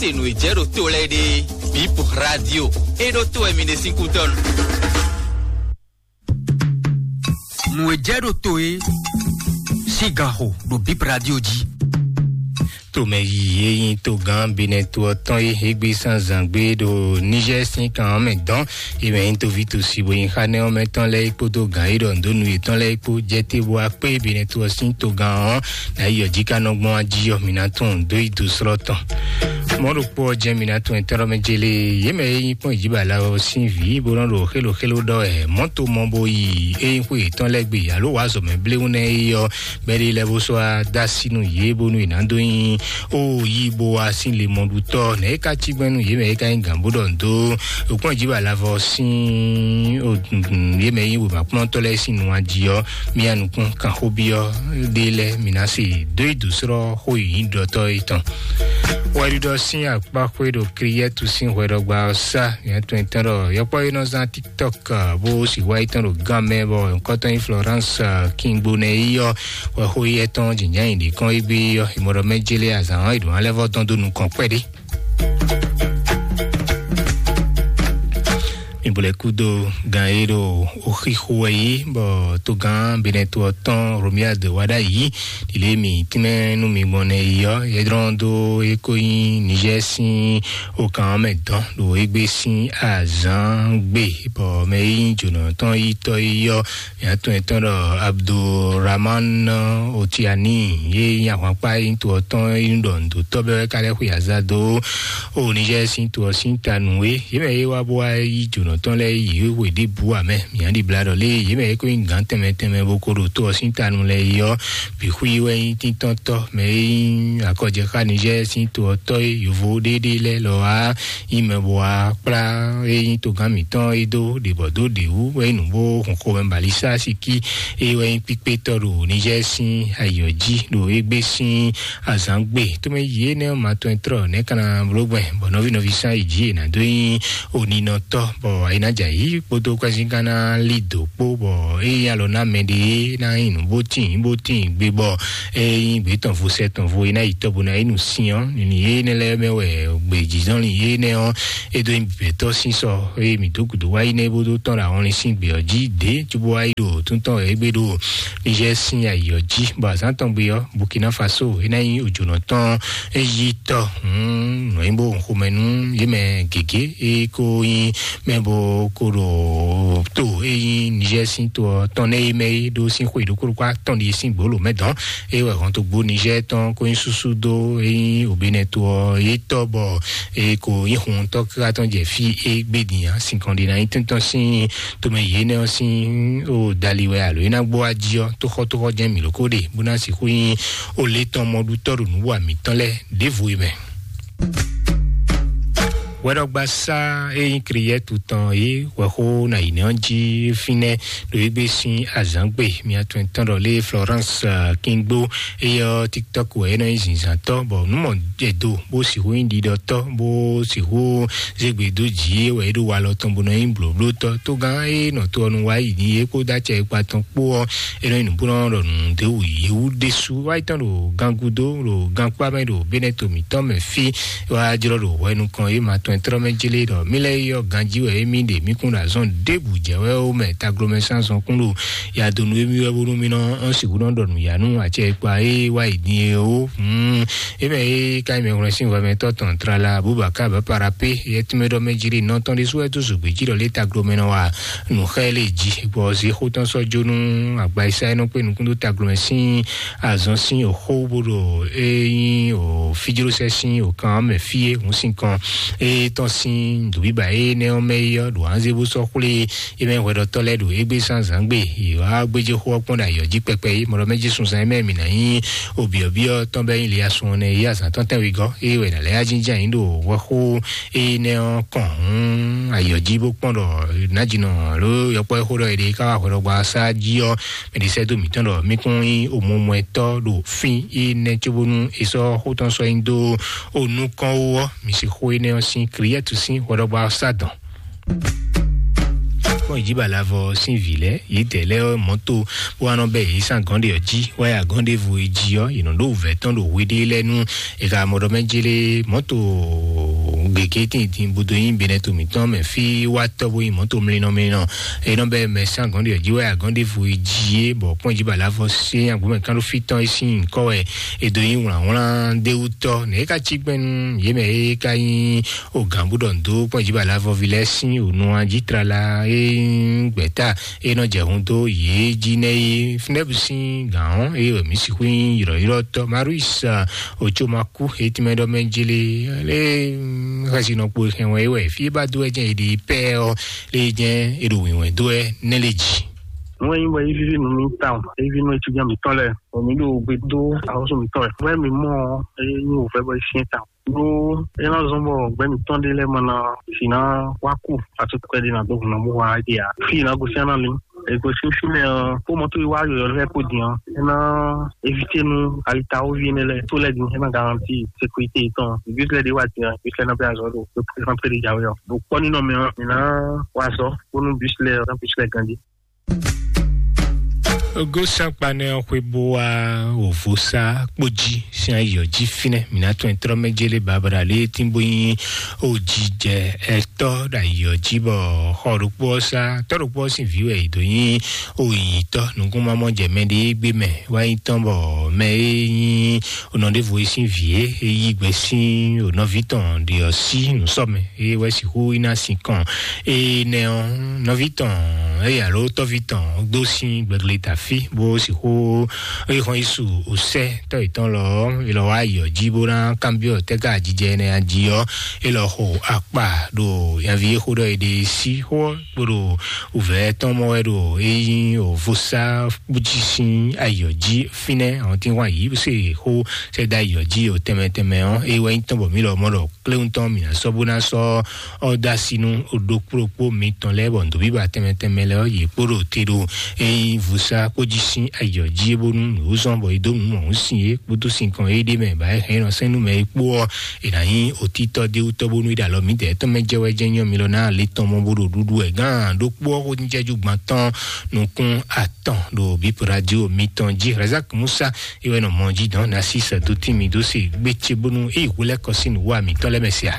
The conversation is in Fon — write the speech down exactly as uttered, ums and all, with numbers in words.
Te nǔ e jɛ ɖo to lɛ́ɛ ɖe, Bip Radio, é ɖó to wɛ mi ɖe sín kútɔ́nu. Nǔ e jɛ ɖo to e sín ganxo ɖo Bip Radio jí. Tomɛ yi e nyí togán Benɛto ɔ́ tɔn e égbé zǎnzǎn gbé ɖo Niger sín kan ɔ́ mɛ dɔn, e mɛ nyí toví tosi bo nyí xá nɛ́ ɔ́ mɛ tɔn lɛ́ɛ kpódó gǎn e ɖɔ nǔ dó nu yětɔn lɛ́ɛ kpó jɛ te bó wá kpé Benɛto ɔ́ sín togán ɔ́, ná yi ɔ́ jí ká nɔ gbɔn ají ɔ́, mi ná tunwun dó yi do slɔ́ tɔn. Mɔ̌ ɖokpó ɔ́ jɛ́n mi ná tunwun etɔ́ mɛ jélé, yě mɛ e nyí kpɔ́n ìjíbala ɔ́ sín vǐ bó nɔ́ ɖo xélo xélo ɖɔ wɛ mɔ̌ to mɔ bo yi é nyí xwé yětɔn lɛ́ɛ gbe alo wǎ zɔ mɛ bléwún nɛ́ é ɔ́, bɛ́ ɖé lɛ́ɛ bó sɔ́ wá dó así nú yě bónú è nǎ dó nyí ó yí bó wá sín le mɔɖutɔ́ nɛ̌ é ka cí gbɛn nú yě mɛ é ka nyí gǎn bó ɖɔ nǔ dó kpɔ́n ìjíbala vɔ sín yě mɛ e nyí wěmakplɔ́ntɔ́ lɛ́ɛ sín nu jí ɔ́, mía nukún kanxóbyɔ́ ɖé lɛ́ɛ mi ná se dó yi dǒ slɔ́ xó yǐnyíɖɔtɔ́ étɔn. Wɛɖiɖɔ sín akpáxwé ɖo Kliyɛ́tu sín hwɛɖɔgba ɔ́ sá, mía tɔn etɔn ɖɔ yɔkpɔ́ e nɔ zán TikTok bó sì wá yi tɔn ɖo gán mɛ bɔ nukɔntɔn nyí Florence Kingbo nɛ yi ɔ́, wɛ xó yi ɛtɔn jǐnján yi ɖě kɔn égbé ɔ́, è mɔ ɖɔ mɛ jélé azǎn ɔ́, è ɖǒ ná lɛ́ vɔ́ dɔn dó nukɔn kpɛɖé. Mi bo lɛ kúdó gan e ɖo oxixo wɛ yi, bɔ togán Benɛto ɔ́ tɔn Romuald wá ɖ'ayǐ ɖile mi tínmɛ nú mi gbɔn nɛ yi ɔ́, yɛdrɔn dó e ko nyí Niger sín okan ɔ́ mɛ dɔn ɖo égbé sín azǎn gbe, bɔ mɛ e nyí jǒnɔ tɔn yi tɔ́ yi ɔ́, mǐ atɔn etɔn ɖɔ Abdulrahman Otiani, ye nyí ahwankpá e nyí to ɔ́ tɔn e nyí ɖɔ nǔdótɔ́ bɛ́ wɛ ka lɛ́ xwe aza dó o Niger sín to ɔ́ sín ta nǔ é. Yě mɛ e wá bó wá yí jǒnɔ tɔn lɛ́ɛ yi hwe ɖěbǔ ǎ mɛ. Mǐ ɖi bla ɖɔ lé yě mɛ e ko nyí gǎn tɛnmɛ tɛnmɛ bó ko ɖo to ɔ́ sín ta nu lɛ́ɛ yi ɔ́, bǐ xwí wɛ nyí tíntɔ́ntɔ́ mɛ e nyí akɔjɛxá Niger sín to ɔ́ tɔ́ e yovo ɖéɖé lɛ́ɛ lɔ wá nyí mɛ bó wá kplá e nyí togán mǐtɔn e dó ɖě bɔ dó ɖě wú wɛ nyí nǔ bó hun xomɛ balisa síkí e wɛ nyí kpíkpétɔ́ ɖo Niger sín ayǐ ɔ́ jí ɖo égbé sín azǎn gbe. Tómɛ yi énɛ́ ɔ́ ma tɔn e tlɔ nɛ̌ ka ná bló gbɛn bɔ nɔví nɔví sán yi jí è nǎ dó nyí oninɔtɔ́ bɔ è nǎ jɛ ayǐ kpódó kwɛ́síngán ná lí dǒ kpó bɔ é nyí alɔ ná mɛ ɖé ná nyí nǔ bó tíin bó tíin gbe bɔ é nyí gbě tɔn vo sɛ tɔn vo é ná yi tɔ́ bó ná yi nǔ syɔ́n nǔ énɛ́ lɛ́ɛ mɛ wɛ gbějínɔ́lin énɛ́ ɔ́ é dó nyí gbɛ̌tɔ́ sín sɔ eye mǐ dó gǔdo wá yi nɛ́ bó dó tɔ́n ɖo ahɔnlin sín gbě ɔ́ jí dě cóbó wá yi ɖo túntɔ́n égbé ɖo Niger sín ayǐ ɔ́ jí bɔ azǎn tɔn gbe ɔ́ Burkina Faso é ná nyí òjònɔ tɔn é yí tɔ́ nɔ̌ nyí bó xomɛ nú yě mɛ gěgé é kó nyí mɛ bó kó ɖo tó é nyí Niger sín to ɔ́ tɔn nɛ́ é mɛ é ɖó sín xwe ɖokpó ɖokpó atɔn ɖíe sín gbǒ lǒ mɛ dɔn é wɛ hɔntogbó Niger tɔn kó nyí súsú dó é nyí òbénɛto ɔ́ é tɔ́ bɔ é ko nyí huntɔ́ káká tɔn jɛ fí é gbé din ǎ. Sinkɔn ɖé ná nyí tɔ́ntɔn sín tomɛ yě nɛ́ ɔ́ sín ó dali wɛ alo é ná gbó wá jí ɔ́ tóxɔ́tóxɔ́ jɛ́n mǐ ló kó ɖe bó ná sixú nyí ó lě tɔn mɔɖutɔ́ ɖo nǔ wa mǐtɔn lɛ́ɛ ɖěvo é mɛ. Hwɛɖɔgbasá e nyí Kliyɛ́tu tɔn é hwɛxó ná yi nɛ́ ɔ́ jí fínɛ́ ɖo égbé sín azǎngbe mia tɔn tɔn ɖɔ lé Florence Kingbo, eyɔ TikTok wɛ é nɔ nyí zinzǎntɔ́ bɔ nǔ mɔ jɛ do bó sixú nyí ɖiɖɔtɔ́ bó sixú zé gbe dó jǐ é wɛ é ɖo walɔ tɔn bó nɔ nyí blǒblótɔ́. Tógán e nɔ to ɔ́ nu wá yi ní é kpódó acɛ e kpa tɔn kpó ɔ́, é nɔ nyí nǔbúnɔ ɖɔ nǔɖé wú yě wú ɖésú wá yi tɔn ɖo gangudó ɖo gankpá mɛ ɖo Benɛto mǐtɔn mɛ fí wá jlɔ́ ɖo hwɛ nukɔn e ma tɔn e tlɔ́ mɛ jlé ɖɔ mí lɛ́ yɔ ganjí wɛ émí ɖe mí kún ɖo azɔn ɖěbǔ jɛ wɛ ó mɛ taglomɛ sín azɔn kún ɖo ya donu émí wɛ bónú mí nɔ ɔ́n sixú nɔ ɖɔ nǔ ya nú acɛ e kpa é wá yi din é ó. Hmm. É mɛ é ka nyí mɛ hwlɛ́n sín hwɛmɛtɔ́ tɔn tlala Abubakar Baparapé yɛ tínmɛ ɖɔ mɛ jlé nɔ tɔn ɖésú wɛ dó zǒgbé jí ɖɔ lé taglomɛ nɔ wa nǔ xá ɛ lé jí bɔ zixó tɔn sɔ́ jó nú agbaisa e nɔ kpé nukún dó taglomɛ sín azɔn sín òxó bó ɖo é nyí o fíjlósɛ sín òkan ɔ́ mɛ fí é hǔn sin kɔn é tɔn sín nǔbíbà énɛ́ ɔ́ mɛ é ɔ́ ɖo anzé bó sɔ́ xwlé é mɛ hwɛɖɔtɔ́ lɛ́ɛ ɖo égbé sín azǎngbe yě wá gbéjé xó ɔ́ kpɔ́n ɖo ayǐ ɔ́ jí kpɛkpɛ é mɔɖɔ mɛ jí sunzan é mɛ mǐ ná nyí obyɔ̌byɔ́ tɔn bɛ́ nyí liasun ɔ́ nɛ é azǎn tɔn tɛ́nwegɔ́ é wɛ nǎ lɛ́ yá jínján yǐ ɖo hwɛxó énɛ́ ɔ́ kɔn hǔn ayǐ ɔ́ jí bó kpɔ́n ɖɔ nǎjínɔ alo yɔkpɔ́ e xó ɖɔ è ɖe ká wá hwɛɖɔgbá sá jí ɔ́ mɛ ɖě sɛ́ dó mǐtɔn ɖɔ mí kún nyí omɔmɔɛtɔ́ ɖo fín énɛ́ cóbónú è sɔ́ xó tɔn sɔ́ nyi dó o nukɔn ó ɔ́, mǐ sixú énɛ́ ɔ́ sín Kliyɛ́tu sín hwɛɖɔgbá ɔ́ sá dɔn. Kpɔ́n ìjíbàlavɔ sín vǐ lɛ́ɛ yědɛɛ lɛ́ɛ ɔ́ mɔ̌to bó wá nɔ bɛ́ yě sín agɔ̌n ɖe ɔ́ jí wá yi agɔ̌n ɖěvo e jí ɔ́, yě nɔ ɖó wǔvɛ́ tɔn ɖo hweɖée lɛ́ɛ nú è ka mɔ ɖɔ mɛ jélé mɔ̌to gěgé tíntín bó dó nyí Benɛto mǐtɔn mɛ fí wá tɔ́ bó nyí mɔ̌to mlinɔ mlinɔ. Enɔ bɛ mɛ sán gɔ̌n ɖe jí wɛ agɔ̌n ɖěvo yi jí é bɔ kpɔ́n jí bala vɔ sí agbómɛ kán ɖó fí tɔn é sín nyǐkɔ wɛ. È dó nyí wlǎnwlán déwútɔ́ nɛ̌ é ka cí gbɛ́nú yě mɛ é ka nyí o gǎn bó ɖɔ ndo kpɔ́n jí bala vɔvi lɛ́ɛ sín o nu jí tlala é nyí gbɛ̌ta é nɔ jɛ hun dó yě jí nɛ́ é fúnɛ́bù sín gǎn ɔ́ é wɛ mǐ sixú nyí yrɔ̌yrɔ́tɔ́ Maruis. Otsó ma kú etí mɛ ɖɔ mɛ jele lé xɛsi nɔ kpo hɛn wɛ wɛ fí ba dó ɛjɛ èdè pɛ ɔ lé jɛ èɖò wìnwɛn dó ɛ nɛ lé jì. Nú ẹ nyí bɔ é víví nú mì tawun, é víví nú étudiant mǐtɔn lɛ́ɛ, bɔ mǐ ɖo gbe dó axɔ́sú mǐtɔn wɛ. Bɔ mǐ mɔ ɔ́, é nyí wǒvɛ́ bɔ é syɛ́n tawun. Ɖó é ná zɔ́n bɔ gbɛ́ mǐtɔn ɖé lɛ́ɛ ma ná si ná wá kú atukpɛ́ ɖé ná dó hun ná bó wá ɖe ǎ. Fí ná gosín ná lin. Ègò sín fínɛ́ ɔ́, kó mɔtó yi wá yɔyɔ lɛ́ɛ kó din ɔ́, é ná évité nú alitawoví énɛ́ lɛ́ɛ tó lɛ́ɛ din, é ná garanti sécurité yětɔn. Ìgbésí lɛ́ɛ ɖé wá din ɔ́, ìgbésí lɛ́ɛ ná bɛ́ azɔ̌ ɖo pé président pé ɖé jǎwe ɔ́. Ɖo kpɔ́ nínɔ mɛ ɔ́, mǐ ná wá azɔ̌ bónú bus lɛ́ɛ ɔ́, ná bus lɛ́ɛ ganjí. Ogó sankpanɛ ɔ́ xwé bó wá òvósá kpójí sín ayǐ ɔ́ jí fínɛ́. Mǐ ná tún ɛ tlɔ́ mɛ jélé babada lé tín bó nyí òjijɛ ɛtɔ́ ɖo ayǐ ɔ́ jí bɔ xɔ ɖokpó ɔ́ sá tɔ́ ɖokpó ɔ́ sín vǐ wɛ è dǒ nyí òyìnyítɔ́ nukúnmamɔ jɛ mɛ ɖé gbé mɛ wá nyí tɔn bɔ mɛ e nyí onɔ ɖěvo e sín vǐ é é yí gbɛ sín onɔví tɔn ɖe ɔ́ sí nǔsɔmɛ é wɛ sixú yi ná sin kɔn. Énɛ́ ɔ́, nɔví tɔn eye alo tɔ́ví tɔn dó sín gbɛgle tafí bó sixú é xɔn yí su òsɛ tɔ́ yětɔn lɔ ɔ́, é lɔ wá yi ɔ́ jí bó ná kanbyɔ́ tɛ́ ka jijɛ énɛ́ jí ɔ́, é lɔ xo akpa ɖo nyaví é xó ɖɔ é ɖe sí xó ɔ́ kpo ɖo wǔvɛ́ tɔn mɔ wɛ ɖo é nyí òvósá jí sín ayǐ ɔ́ jí fínɛ́ àwọn tí wọ́n yí se xó sɛ́dá ayǐ ɔ́ jí o tɛnmɛ tɛnmɛ ɔ́, é wɛ nyí tɔn bɔ mǐ lɔ mɔ ɖɔ kléwún tɔn mǐ ná sɔ́ bó ná sɔ́ ɔ́ dó así nú ɖokpó ɖokpó mitɔn lɛ́ɛ bɔ nǔɖoɖíba tɛnmɛ tɛnmɛ lɛ́ɛ ɔ́ yě kpo ɖo te ɖo é nyí vúsá kpó jí sín ayǐ ɔ́ jí é bónú nǔ zɔ́n bɔ é dó nǔ mɔ̌hun sin é kpódó sinkɔn é ɖé mɛ bǎ é hɛn é nɔ sɛn nú mɛ é kpó ɔ́, è nǎ nyí otítɔ́ déwútɔ́ bónú é ɖo alɔ mǐdɛɛ tɔn mɛ jɛ wɛ jɛ nyɔ mi lɔ ná le tɔn mɔ bó ɖo ɖuɖu wɛ gán ɖokpó ɔ́ xó ní jɛjú gban tɔn nukún atɔn ɖo bípo radio mitɔn jí Razak Musa é wɛ nɔ mɔ jí dɔn ná sí sɛdó tí mi dó se gbé ce bónú é yi hwelɛ́kɔ sín nǔwá mitɔn lɛ́ mɛ se a.